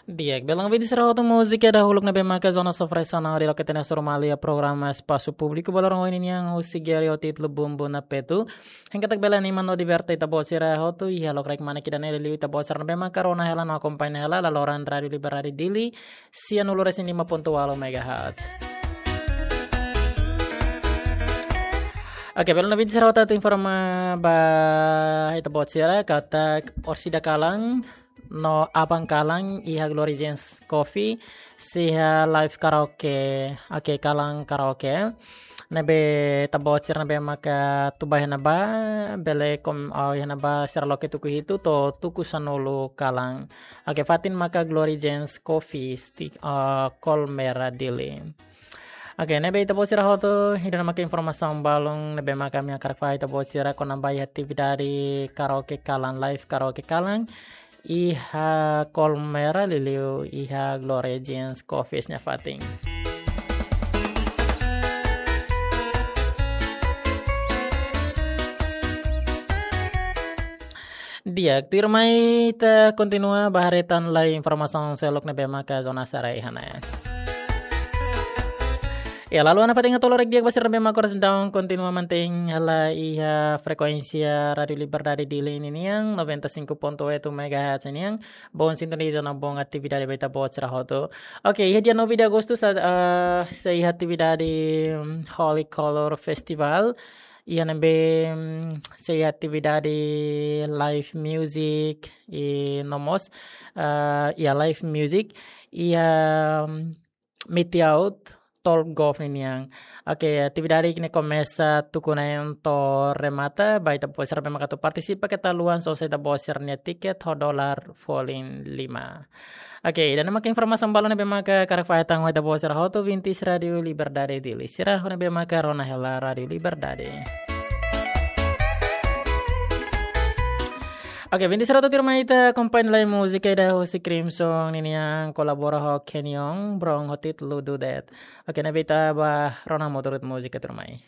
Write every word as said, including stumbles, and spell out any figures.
Di'ak, belun ouvinte sira hotu, múzika dahuluk ne'ebé maka Zona Sofre Sana di loke tene suru mali iha programa Espasu Públiku Balorong ohin nian husi Gary ho títulu Bumbum na Petu. Hein katak bele anima no diverte ita-boot sira hotu iha lokraik manek ida-ne'e, liuliu ita-boot sira ne'ebé maka rona hela no akompaña hela laloran Rádiu Liberdade Dili, sianulu resin lima pontu ualu megahertz. Oke, belun ouvinte sira hotu, atu informa ba ita-boot sira katak orsida kalan no aban kalan iha Glory Jeans Coffee, sei iha live karaoke, oke, kalan karaoke. Ne'ebé ita-boot sira ne'ebé maka tuba iha ne'ebá, bele kom, ah, iha ne'ebá sira loke tuku hitu to'o tuku sanulu kalan. Oke, fatin maka Glory Jeans Coffee, Stick, ah, Colmera Dili. Oke, ne'ebé ita-boot sira hotu, ida-ne'e maka informasaun balun ne'ebé maka ami hakarak fahe ita-boot sira kona-ba iha atividade karaoke kalan, live karaoke kalan iha Colmera, liuliu iha Glory Jeans Coffee nia fatin. Di'ak, tuirmai ita kontinua ba haree tan lai informasaun seluk ne'ebé maka zona sira iha ne'e. Ya, lalu ona fatin hato'o loron di'ak ba sira ne'ebé maka oras entaun kontinua mantein hela iha frekuénsia Rádiu Liberdade Dili ninian, noventa e cinco ponto oito megahertz nian. Bom sintoniza no bom atividade ba ita-boot sira hotu. Oke, iha dia nove de agosto sa, ah, sei iha atividade, mm, Holy Color Festival. Iha ne'ebé, mm, sei iha atividade live music, i no mós, ah, iha live music, iha, mm, Meet Out, Tolgov ninian. Oke, atividade ne'e komesa tuku neen to'o remata, ba ita-boot sira ne'ebé maka atu partisipa keta haluha sosa ita-boot sira-nia tiket ho dolar folin lima. Oke, ida-ne'e maka informasaun balun ne'ebé maka hakarak fahe tan ho ita-boot sira hotu, ouvintes Rádiu Liberdade Dili sira ne'ebé maka rona hela Rádiu Liberdade. Oke, ouvintes sira hotu, tuirmai ita akompaña lai múzika ida husi Crimson ninian kolabora ho Kenyon Brown ho títulu Do That. Oke, ne'ebé ita bá rona hamutuk múzika tuirmai.